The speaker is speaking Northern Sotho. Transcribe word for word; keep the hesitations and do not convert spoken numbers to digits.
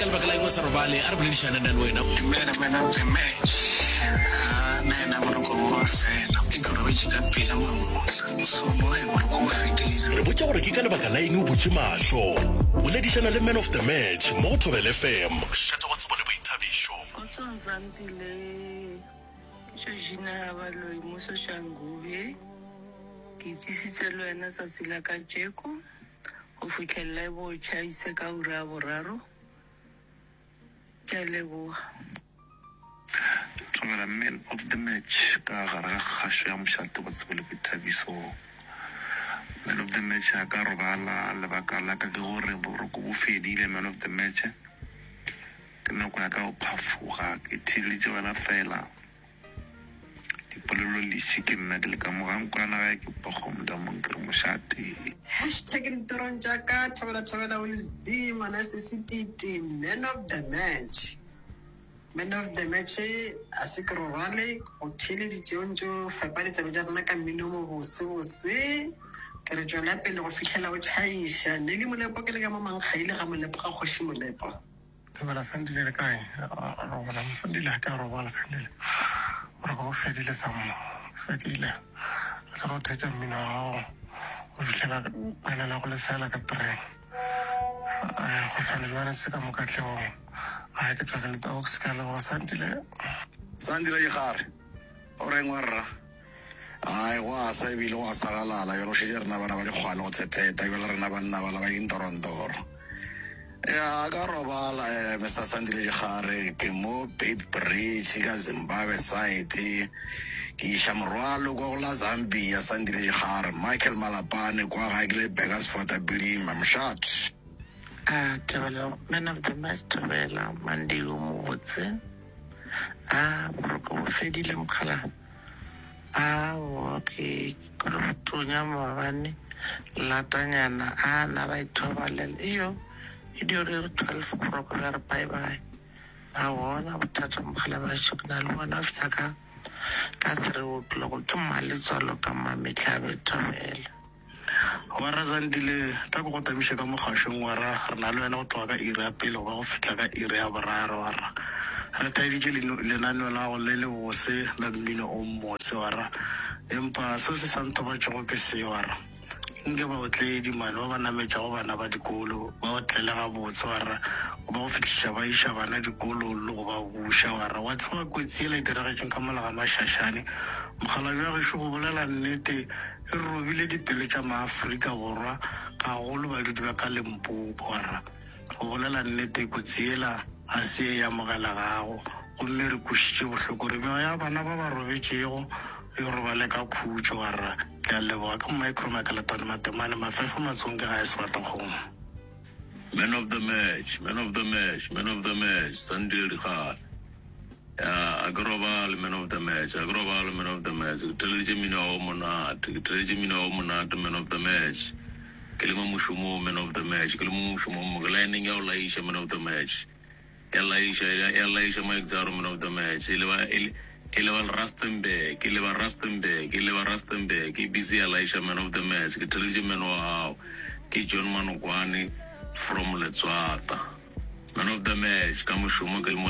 lebaka la eng o sa robale a re boledišane nna le wena Dumela man of the match. Ah, nna yena boroko bo fela. Ke ke robetše ka pela mamohla. Mošomo e boroko bo fedile. re botša gore ke ka lebaka la eng o butše mahlo boledišana le man of the match mo go thobel fm mošate wa tsebo le boithabišo Kgotsong Zandile ke Georgina Baloi mo Soshanguve ke itsisitse le wena tsatsi la kajeko go fitlhelela e bo tšhaise ka ura ya boraro ke a leboga Thobela man of the match ka gare ga kgašo ya mošate wa tsebo le boithabišo. Man of the match a ka robala lebaka la ka ke gore boroko bo fedile man of the match. Ke nako ya ka go phafoga ke theeleditše wena fela. Dipolelo leši ke nna ke le ka mo ga nkwana gae ke pokgo ke re mošate. Hashtag ditorong tša ka thobela thobela Willis D ngwana sesititi man of the match man of the match a se ke robale go theeleditše o ntse o fepa ditsebe tša rena ka mmino mo bose bose ke re tswela pele go fitlhela o tšhaiša ne le molepo ke le ka mo mankgaile ga molepo ga kgoši molepo Thobela Sandile le kae? Robala Sandile ha ka robala Sandile. Boroko bo fedile sammo. Fedile. Re tla go theetša mmino wa gago go fihlela pele la go lefela ka terene. Go hlwane le se ka mo katlehong. Ga ke tswa ke le tox ka leboga Sandile. Sandile Dikgare o reng wa rra ai go a sa ebile go a sagalala jalo šetše rena bana ba dikgwale go tshetheta jalo rena banna bala ba dintorontoro ya ka robala eh, mr Sandile Dikgare ke mo Beit Bridge ka Zimbabwe side ke iša morwalo kwa go la Zambia Sandile Dikgare Michael Malapane kwa gae ke le Burgersfort Bilima mošate a thobela man of the match thobela Monday o mobotse a boroko bo fedile mokgala aowa ke kore botonya maabane latanyana a na ra ithobalela iyo e dio re re twelve boroko bja re bye bye a bona bothata mogala bašo ke na le bona fitlha ka ka three o'clock ke mmaletswalo ka mmametlhabe thobela Warra Zandile tla ko go tamiše ka mogašong warra re na le wena go tloga ka iri ya pele go ba go fihla ka iri ya boraro warra re thaeditše lenaneo la go le le bose la mmino o mmose warra empa seo se sa nthobatšego ke se warra nke baotledi mane ba ba nametšago bana ba dikolo ba otlele gabotse warra go ba go fihliša ba iša bana dikolong le go ba buša warra wa tseba kotsi ela e diragetšeng ka mola ga mašašane mogala bja gešo go bolela nnete e robile dipelo tša maafrika borwa gagolo badudi ba ka limpopo warra go bolela nnete kotsi ela ga se e amogelegago gomme re kwešitše bohloko re meoya ya bana ba ba robetšego e robale ka khutšo warra ke a leboga ke micro makaletwane matemane mafefo matsong ke ga e sebatakgomo Man of the match, man of the match, man of the match, Sandile Dikgale. Ya, a ke robale man of the match, a ke robale man of the match. Ke theleditše mmino wa monate, ke theleditše mmino wa monate man of the match. Ke le mo mošomong man of the match, ke le mo mošomong mo ke lineng ya go laiša man of the match. Ya laiša, ya ya laiša Mike man of the match. E le ba e le e le ba Rustenburg, e le ba Rustenburg, e le ba Rustenburg, e busy ya laiša man of the match. Ke theleditše mmino wa gago. Ke John Manokwane from Letswata. Man of the match ka mošomo ke le mo